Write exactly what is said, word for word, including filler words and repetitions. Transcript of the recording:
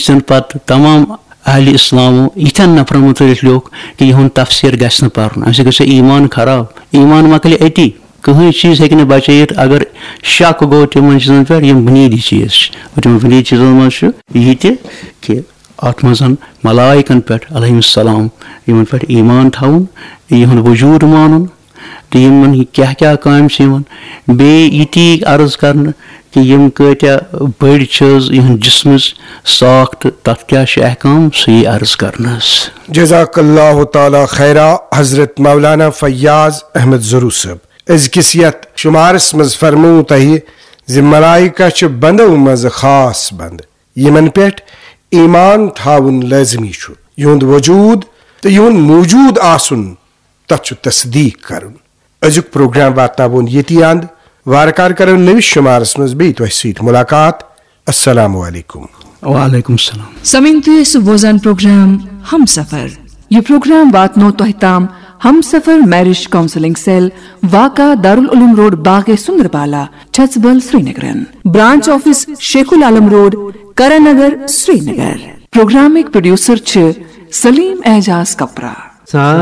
زن پتہٕ تمام اہلِ اسلامو یِتھٮ۪ن نفرن مُتعلق لیوٚکھ کہِ یِہُنٛد تفسیر گژھِ نہٕ پرُن، امہِ سۭتۍ گژھِ ایمان خراب۔ ایمان مۄکلہِ أتی، کٕہٕنۍ چیٖز ہیٚکہِ نہٕ بچٲیِتھ۔ اگر شک گوٚو تِمن چیٖزن پٮ۪ٹھ، یِم بُنیٲدی چیٖز چھِ، اور تِمن بُنیٲدی چیٖزن منٛز چھُ یہِ تہِ کہِ اتھ منٛز ملائکن پٮ۪ٹھ علیہم السلام، یِمن پٮ۪ٹھ ایمان تھاوُن، یِہُنٛد وجوٗد مانُن، تہٕ یِمن کیٛاہ کیٛاہ کامہِ چھِ یِوان۔ بیٚیہِ یہِ تہِ عرض کرنہٕ کہِ یِم کۭتیٛاہ بٔڑۍ چھِ حظ، یِہُنٛد جسمٕچ ساخت، تَتھ کیٛاہ چھِ احکام، سُہ یی عرض کرنہٕ حظ۔ جزاک اللہ تعالیٰ خیرا حضرت مولانا فیاض احمد ضرو صٲب۔ أزکِس یتھ شمارس منٛز فرموو تۄہہِ زِ ملائکہ چھِ بندو منٛز خاص بند، یِمن پٮ۪ٹھ ایمان تھاوُن لٲزمی چھُ۔ یِہُنٛد وجوٗد تہٕ یِہُنٛد موجود آسُن، تتھ چھُ تصدیق کرُن۔ أزیُک پروگرام واتناوون ییٚتی اند۔ وارٕ کارٕ کرو نٔوِس شمارس منٛز بیٚیہِ تۄہہِ سۭتۍ ملاقات۔ السلام علیکم۔ وعلیکم السلام۔ سمعین تُہۍ ٲسِو بوزان پروگرام ہم سفر۔ یہِ پروگرام واتنو تۄہہِ تام ہم سفر میرج کاؤنسلنگ سیل، واقع دارالعلوم روڈ، باغ سندربالا، چھژبل، سرینگرن۔ برانچ آفس شیخ العالم روڈ، کرن نگر، سرینگر۔ پروگرامٕکۍ پروڈیوسر چھِ سلیم اعجاز کپرا۔